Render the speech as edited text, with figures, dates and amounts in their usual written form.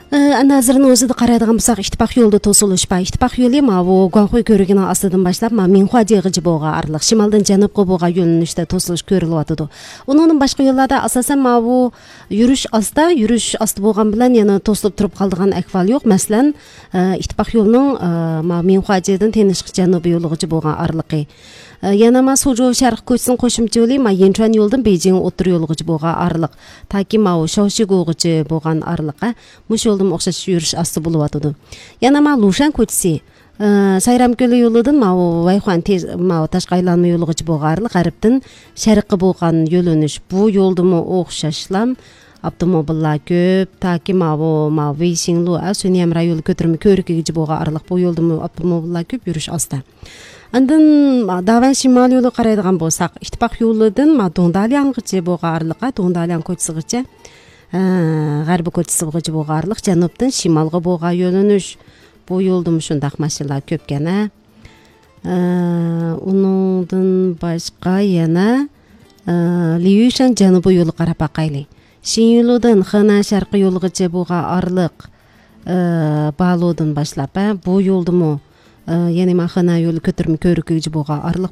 Анда азырынын өзүдө карайдыган болсок, Иттифак жолду тосулушпа. Иттифак жолу могу Гуанхуй көрүгүнүн астыдан баштап, Минхуа жыгычы буга арлык шималдан жаныбка буга жөнүнүштө тосулуш көрүлүп атыды. Унун башка жолларда асасан могу жүрүш асты болгон менен яна тосулуп туруп калдыган акыбал жок. Маселен, Иттифак жолунун Минхуа жыгыдан Тенишк жаныбы жолугучу болгон арлыгы. Яна Сужоу шарк көчүсүнүн кошумча жолу Янчуан жолдун Бейжиң отур жолугучу болгон арлык. Таки Шаоши гугучу болгон арлыкка муш жолдун окшош жүрүш асты болуп атыды. Яна Лушан көчүсү Сайрам көлү жолудун Вайхуан ташкы айланма жолугучу болгон арлык гариптин шарыкка болгон жолунуш. Бу жолдуму окшошлам автомобилдар көп, таки Вейсиңлу Сөньям району көтөрмө көрүккө болгон арлык. Бу жолдуму автомобилдар көп жүрүш асты. Андан Даван шимал жолу карайдыган болсак, Иттифак жолудун Дуңдалиангычы болгон арлыкка, Дуңдалиан көчүсүгүчө гарбы көчүсүгүчө болгон арлык жаныбтын шималга болгон жөнүнүш. Бу жолдун ушундак машиналар көп экен. Унундан башка яна Лиюшан жаныбы жолу карап бакайлы. Шинюлудан Хана шаркы жолугучу болгон арлык Баалоодон башлап, бу жолдуму Хана жолу көтөрмө көрүккө болгон арлык.